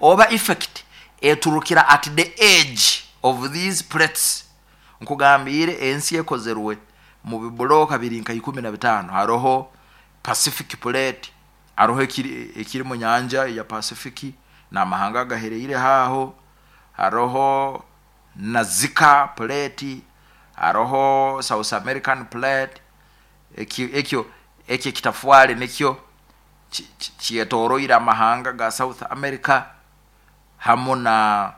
Oba effect eturukira at the edge of these plates. Nkugambiire, ensi ekozerwe mu bibulooka biri nka 15. Haroho Pacific Plate, haroho ekiri mu nyanja ya Pacific n'amahanga agahereire aho, haroho Nazca Plate, haroho South American Plate. Ekyo ekitafwale nikyo kyetoroire amahanga ga South America hamu na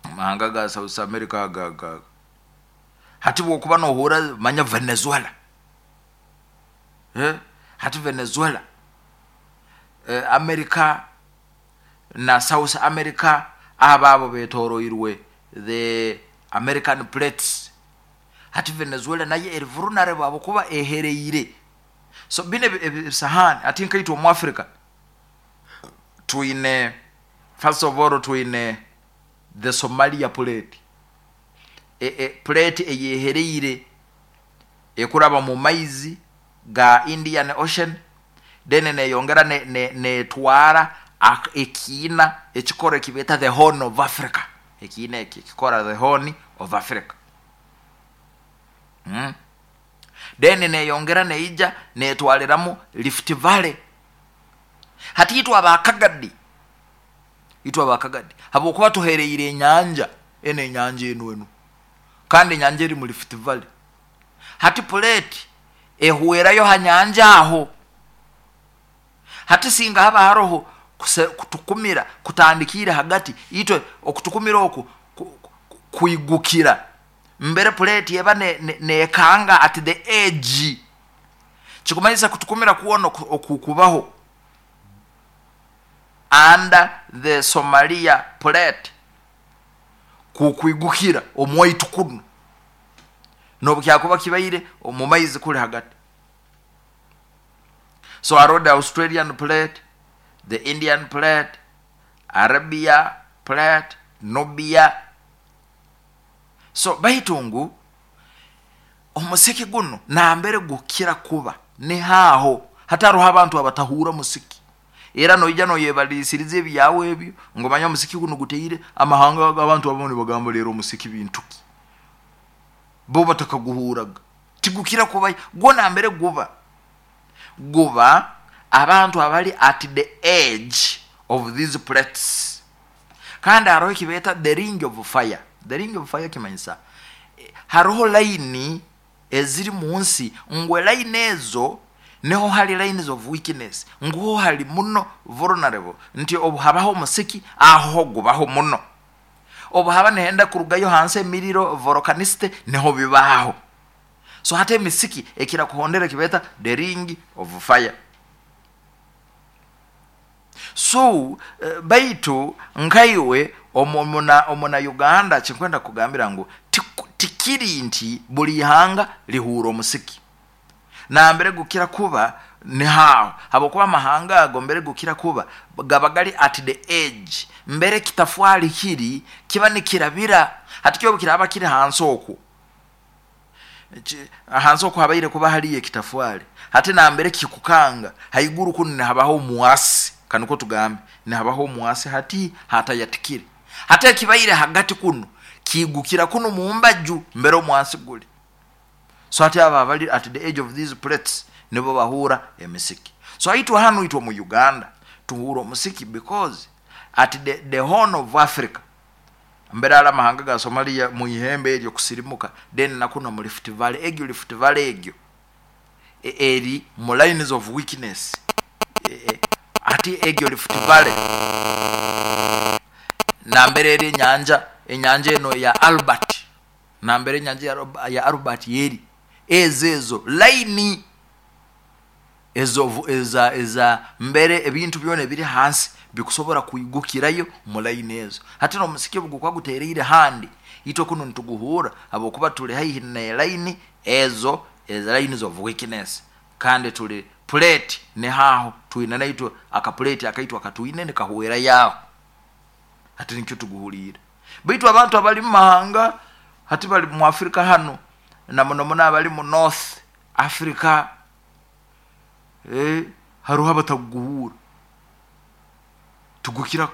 amahanga ga South America. Ga hati bwokuba nohura, manya Venezuela, hati Venezuela, America na South America, abo betoroirwe the American plates. Hati Venezuela nayo eri vulnerable habwokuba ehereire. So bino ebisahani, hati nkaitwe omu Africa twine, first of all, twine the Somalia Plate, plate eyehereire ekuraba mu maizi ga Indian Ocean, then neyongera netwara ekiina ekikoro ekibeeta the Horn of Africa. Ekiina eki ekikora the Horn of Africa. Then neyongera neija netwaliramu Rift Valley. Hati itwe abakagadi habwokuba tuhereire enyanja eno, enyanja enu, kandi enyanja eri mu Rift Valley. Hati plate ehwerayo ha nyanja aho. Hati singa haba haroho kutukumira kutandikire hagati, itwe okutukumira oku kwigukira mbere plate eba nekanga at the edge. Kikumanyisa kutukumira kwona okukubaho under the Somalia Plate kukwigukira omwaitu kuno, nobu kyakuba kibaire omu maizi kuli hagati. So hariho the Australian Plate, the Indian Plate, Arabia Plate, Nubia. So baitu ngu omusiki guno nambere gukira kuba nihaho. Hataroho abantu abatahura musiki, era noija noyebalisiriza ebyawe ebyo ngo manya omusiki guno guteire amahanga. Abantu abamu nibagamba leero omusiki bintuki, bo batakaguhuraga. Tigukira kuba gwo nambere guba abantu abali at the edge of these plates. Kandi haroho ekibeeta the Ring of Fire. The Ring of Fire kimanyisa haroho layini eziri mu nsi, ngu layini ezo niho hari lines of weakness, nguho hari muno vulnerable, nti obu habaho omusiki aho gubaho muno, obu haba nihenda kurugayo hansi emiriro, volcanicity, niho bibaho. So hati emisiki ekira kuhondera ekibeeta the Ring of Fire. So baitu nkaiwe omuna Uganda, kinkwenda kugambira ngu tikiri nti buli ihanga lihuura omusiki. Nambere gukira kuba nihaho habwokuba amahanga ago mbere gukira kuba gaba gali at the edge, mbere kitafwali kiri kiba nikirabira. Hati kyobu kiraba kiri hansi okwo, hansi okwo habaire kuba haliyo ekitafwali, hati nambere kikukanga haiguru kunu nihabaho omwasi, kaniko tugambe nihabaho omwasi. Hati hatayatikire, hati ekibaire hagati kuno kiigukira kuno mumbaju mbere omwasi guli. So hati abo abali at the edge of these plates nibo bahura emisiki. So itwe hanu, itwe mu Uganda tuhura omusiki because at the Horn of Africa, mbere ali amahanga ga Somalia mu ihembe eryo kusirimuka, then nakuno mu Rift Valley. Egyo Rift Valley egyo eri mu lines of weakness. Ati egyo Rift Valley nambere eri enyanja eno ya Albert, nambere enyanja ya Albert yeri, ezo line ezo eza mbere ebintu byona ebiri hansi bikusobora kwigukirayo mu line ezo. Hati n'omusiki obu gukuba gutereire handi, itwe kuno nituguhuura habwokuba tuli haihi ne line ezo, eza lines of weakness, kandi tuli plate nihaho twine naitwe akaplate akaitu akatwine nikahwerayo aho. Hati nikyo tuguhuliire. Baitu abantu abali mu mahanga, hati bali mu Afrika hanu, na muno muno abali mu North Africa, haroho abatakuguhuura, tugukira.